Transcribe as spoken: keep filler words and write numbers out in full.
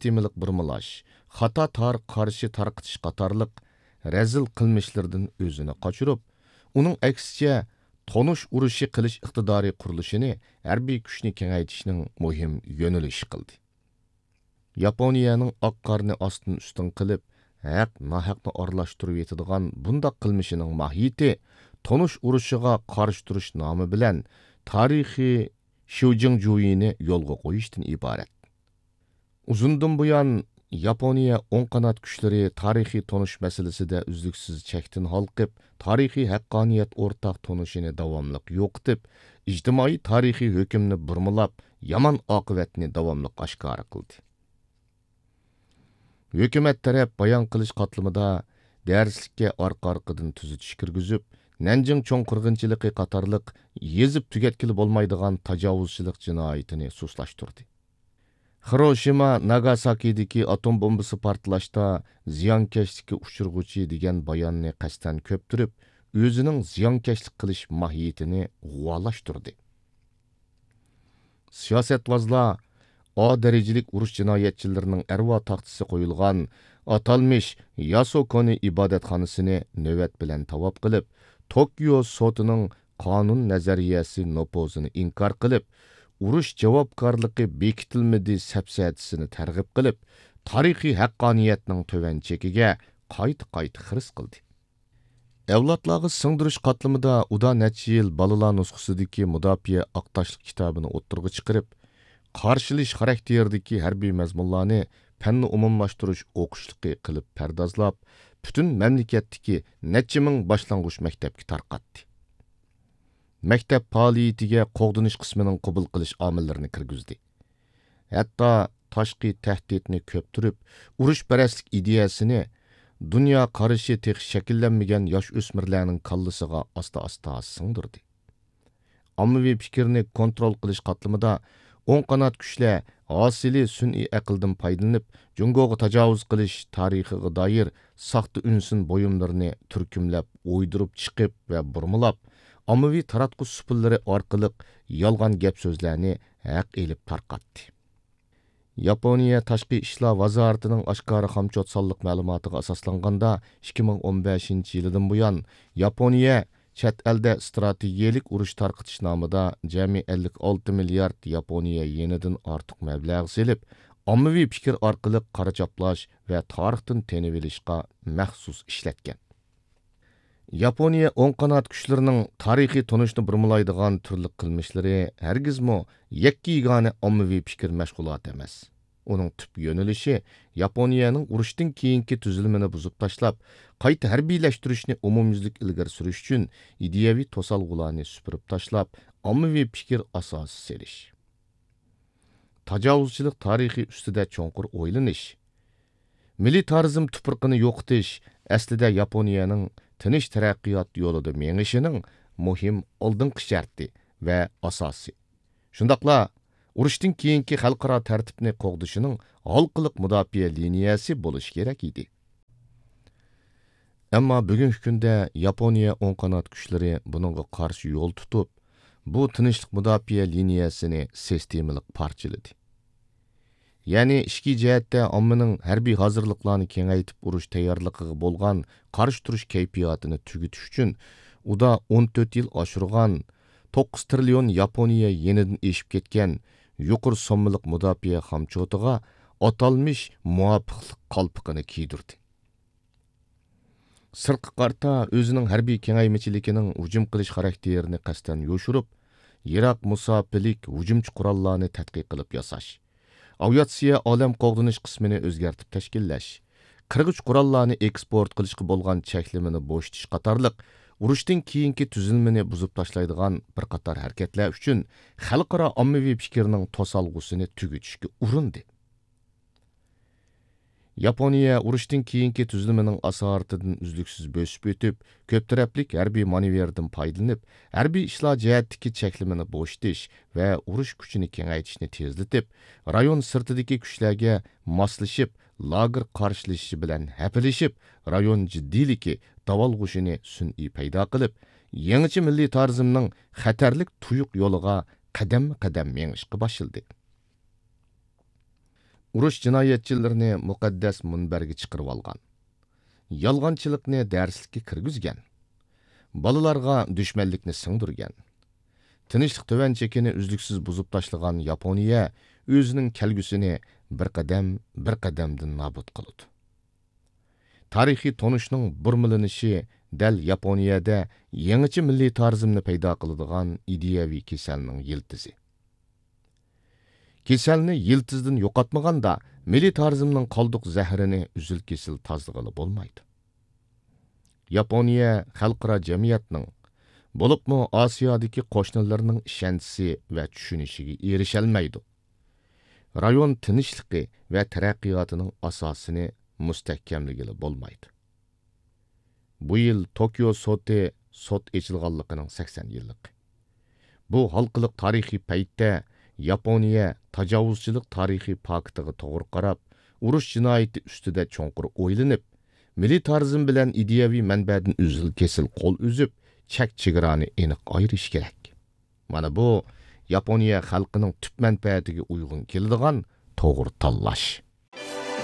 سىستېمىلىق بۇرمىلاش، خاتا تارىخقا قارشى تارقىتىش قاتارلىق رەزىل قىلمىشلىرىدىن ئۆزىنى قاچۇرۇپ، ئۇنىڭ ئەكسىچە، تونۇش ئۇرۇشى قىلىش ئىقتىدارى قۇرۇلۇشىنى ھەربىي كۈچنى كېڭەيتىشنىڭ مۇھىم يۆنىلىشى قىلدى. ياپونىيەنىڭ ئاق قارنى ئاستىن ئۈستۈن قىلىپ، ھەق ناھەقنى ئارىلاشتۇرۇۋېتىدىغان بۇنداق قىلمىشىنىڭ ماھىيىتى تونۇش ئۇرۇشىغا قارشى تۇرۇش نامى بىلەن تارىخىي شيۇجىڭجۇيىنى يولغا قويۇشتىن ئىبارەت. ئۇزۇندىن بۇيان، ياپونىيە ئوڭ قانات كۈچلىرى تارىخىي تونۇش مەسىلىسىدە ئۈزلۈكسىز چەكتىن ھالقىپ، تارىخىي ھەققانىيەت ئورتاق تونۇشىنى داۋاملىق يوقىتىپ، ئىجتىمائىي تارىخىي ھۆكۈمنى بۇرمىلاپ، يامان ئاقىۋەتنى داۋاملىق ئاشكارا قىلدى. ھۆكۈمەت تەرەپ بايان قىلىش قاتلىمىدا دەرسلىككە ئارقا-ئارقىدىن تۈزىتىش كىرگۈزۈپ، نەنجىڭ چوڭ قىرغىنچىلىقى قاتارلىق يېزىپ تۈگەتكىلى بولمايدىغان تاجاۋۇزچىلىق جىنايىتىنى سۇسلاشتۇردى. خىروشىما، ناگاساكىدىكى ئاتوم بومبىسى پارتلاشتا زىيانكەشلىككە ئۇچرىغۇچى دېگەن باياننى قەستەن كۆپتۈرۈپ، ئۆزىنىڭ زىيانكەشلىك قىلىش ماھىيىتىنى غۇۋالاشتۇردى. سىياسەتۋازلار ئا دەرىجىلىك ئۇرۇش جىنايەتچىلىرىنىڭ ئەرۋا تاختىسى قويۇلغان ئاتالمىش ياسوكونى ئىبادەتخانىسىنى نۆۋەت بىلەن تاۋاپ قىلىپ، توكيو سوتىنىڭ قانۇن نەزەرىيەسى نوپۇزىنى ئىنكار قىلىپ، ئۇرۇش جاۋابكارلىقى بېكىتىلمىدى سەپسەتىسىنى تەرغىب قىلىپ، تارىخىي ھەققانىيەتنىڭ تۆۋەن چېكىگە قايتا-قايتا خىرىس قىلدى. ئەۋلادلارغا سىڭدۈرۈش قاتلىمىدا ئۇدا نەچچە يىل بالىلار نۇسخىسىدىكى مۇداپىئە ئاق تاشلىق كىتابىنى ئوتتۇرىغا چىقىرىپ، قارشىلىش خاراكتېرىدىكى ھەربىي مەزمۇنلارنى پەننى ئومۇملاشتۇرۇش ئوقۇشلۇقى قىلىپ پەردازلاپ، پۈتۈن مەملىكەتتىكى نەچچە مىڭ باشلانغۇچ مەكتەپكە تارقاتتى. مەكتەپ پائالىيىتىگە قوغدىنىش قىسمىنىڭ قوبۇل قىلىش ئامىللىرىنى كىرگۈزدى. ھەتتا تاشقى تەھدىتنى كۆپتۈرۈپ، ئۇرۇشپەرەسلىك ئىدىيەسىنى دۇنيا قارىشى تېخى شەكىللەنمىگەن ياش ئۆسمۈرلەرنىڭ كاللىسىغا ئاستا-ئاستا سىڭدۈردى. ئاممىۋى پىكىرنى كونترول قىلىش قاتلىمىدا ئوڭ قانات كۈچلەر ھاسىلى سۈنئىي ئەقىلدىن پايدىلىنىپ، جۇڭگوغا تاجاۋۇز قىلىش تارىخىغا دائىر ساختا ئۈنسىن بۇيۇملىرىنى تۈركۈملەپ، ئويدۇرۇپ چىقىپ ۋە بۇرمىلاپ، ئاممىۋى تاراتقۇ سۇپىلىرى ئارقىلىق يالغان گەپ-سۆزلەرنى ھەق ئېلىپ تارقاتتى. ياپونىيە تاشقى ئىشلار ۋازارىتىنىڭ ئاشكارا خامچوت سانلىق مەلۇماتىغا ئاساسلانغاندا، ئىككى مىڭ ئون بەشىنچى يىلىدىن بۇيان، ياپونىيە چەت ئەلدە ئىستراتېگىيەلىك ئۇرۇش تارقىتىش نامىدا جەمئىي ئەللىك ئالتە مىليارد ياپونىيە يېنىدىن ئارتۇق مەبلەغ سېلىپ، ئاممىۋى پىكىر ئارقىلىق قارا چاپلاش ۋە تارىختىن تېنىۋېلىشقا مەخسۇس ئىشلەتكەن. ياپونىيە ئوڭ قانات كۈچلىرىنىڭ تارىخىي تونۇشنى بۇرمىلايدىغان تۈرلۈك قىلمىشلىرى ھەرگىزمۇ يەككە-يېگانە ئاممىۋى پىكىر مەشغۇلاتى ئەمەس. ئۇنىڭ تۈپ يۆنىلىشى ياپونىيەنىڭ ئۇرۇشتىن كېيىنكى تۈزۈلمىنى بۇزۇپ تاشلاپ، قايتا ھەربىيلەشتۈرۈشنى ئومۇميۈزلۈك ئىلگىرى سۈرۈش ئۈچۈن ئىدىيەۋى توسالغۇلارنى سۈپۈرۈپ تاشلاپ، ئاممىۋى پىكىر ئاساسى سېلىش. تاجاۋۇزچىلىق تارىخى ئۈستىدە چوڭقۇر ئويلىنىش. مىلىتارىزم تۇپرىقىنى يوقىتىش ئەسلىدە ياپونىيەنىڭ تىنچ تەرەققىيات يولىدا مېڭىشىنىڭ مۇھىم ئالدىنقى شەرتى ۋە ئاساسى. شۇنداقلا ئۇرۇشتىن كېيىنكى خەلقئارا تەرتىپنى قوغدىشىنىڭ ھالقىلىق مۇداپىئە لىنىيەسى بولۇشى كېرەك ئىدى. ئەمما بۈگۈنكى كۈندە ياپونىيە ئوڭ قانات كۈچلىرى بۇنىڭغا قارشى يول تۇتۇپ، بۇ تىنچلىق مۇداپىئە لىنىيەسىنى سىستېمىلىق پارچىلىدى. يەنى ئىچكى جەھەتتە ئاممىنىڭ ھەربىي ھازىرلىقلارنى كېڭەيتىپ ئۇرۇش تەييارلىقىغا بولغان قارشى تۇرۇش كەيپىياتىنى تۈگىتىش ئۈچۈن ئۇدا ئون تۆت يىل ئاشۇرغان توققۇز تىرىليون ياپونىيە يېنىدىن ئېشىپ كەتكەن يۇقىرى سوممىلىق مۇداپىئە خامچوتىغا ئاتالمىش مۇۋاپىقلىق قالپىقىنى كىيدۈردى. سىرتقا قارىتا ئۆزىنىڭ ھەربىي كېڭەيمىچىلىكىنىڭ ھۇجۇم قىلىش خاراكتېرىنى قەستەن يوشۇرۇپ، يىراق مۇساپىلىك ھۇجۇمچى قوراللارنى تەتقىق قىلىپ ياساش، ئاۋىئاتسىيە ئالەم قوغدىنىش قىسمىنى ئۆزگەرتىپ تەشكىللەش، قىرغۇچ قوراللارنى ئېكسپورت قىلىشقا بولغان چەكلىمىنى بوشىتىش قاتارلىق ئۇرۇشتىن كېيىنكى تۈزۈلمىنى بۇزۇپ تاشلايدىغان بىر قاتار ھەرىكەتلەر ئۈچۈن خەلقئارا ئاممىۋى پىكىرنىڭ توسالغۇسىنى تۈگىتىشكە ئۇرۇندى. ياپونىيە ئۇرۇشتىن كېيىنكى تۈزۈلمىنىڭ ئاسارىتىدىن ئۈزلۈكسىز بۆسۈپ ئۆتۈپ، كۆپ تەرەپلىك ھەربىي مانېۋىردىن پايدىلىنىپ، ھەربىي ئىشلار جەھەتتىكى چەكلىمىنى بوشىتىش ۋە ئۇرۇش كۈچىنى كېڭەيتىشنى تېزلىتىپ، رايون سىرتىدىكى كۈچلەرگە ماسلىشىپ، لاگېر قارشىلىشىشى بىلەن ھەپىلىشىپ، رايون جىددىيلىكى، داۋالغۇشىنى سۈنئىي پەيدا قىلىپ، يېڭىچە مىللىتارىزمنىڭ خەتەرلىك تۇيۇق يولىغا قەدەممۇ قەدەم مېڭىشقا باشلىدى. ئۇرۇش جىنايەتچىلىرىنى مۇقەددەس مۇنبەرگە چىقىرىۋالغان. يالغانچىلىقنى دەرسلىككە كىرگۈزگەن. بالىلارغا دۈشمەنلىكنى سىڭدۈرگەن. تىنچلىق تۆۋەن چېكىنى ئۈزلۈكسىز بۇزۇپ تاشلىغان ياپونىيە ئۆزىنىڭ كەلگۈسىنى بىر قەدەم، بىر قەدەمدىن نابۇت قىلىدۇ. تارىخىي تونۇشنىڭ بۇرمىلىنىشى دەل ياپونىيەدە يېڭىچە مىللىتارىزمنى پەيدا قىلىدىغان ئىدىيەۋى كېسەلنىڭ يىلتىزى. كېسەلنى يىلتىزدىن يوقاتمىغاندا، مىللىتارىزمنىڭ قالدۇق زەھىرىنى ئۈزۈل-كېسىل تازىلىغىلى بولمايدۇ. ياپونىيە خەلقئارا جەمئىيەتنىڭ، بولۇپمۇ ئاسىيادىكى قوشنىلىرىنىڭ ئىشەنچىسى ۋە چۈشىنىشىگە ئېرىشەلمەيدۇ. رايون تىنچلىقى ۋە تەرەققىياتىنىڭ ئاساسىنى مۇستەھكەملىگىلى بولمايدۇ. بۇ يىل توكيو سوتى سوت ئېچىلغانلىقىنىڭ سەكسەن يىللىقى. بۇ ھالقىلىق تارىخىي پەيتتە ياپونىيە تاجاۋۇزچىلىق تارىخىي پاكىتىغا توغرا قاراپ، ئۇرۇش جىنايىتى ئۈستىدە چوڭقۇر ئويلىنىپ، مىللىتارىزم بىلەن ئىدىيەۋى مەنبەدىن ئۈزۈل-كېسىل قول ئۈزۈپ، چەك-چېگرانى ئېنىق ئايرىش كېرەك. مانا بۇ ياپونىيە خەلقىنىڭ تۈپ مەنپەئەتىگە ئۇيغۇن كېلىدىغان توغرا تاللاش.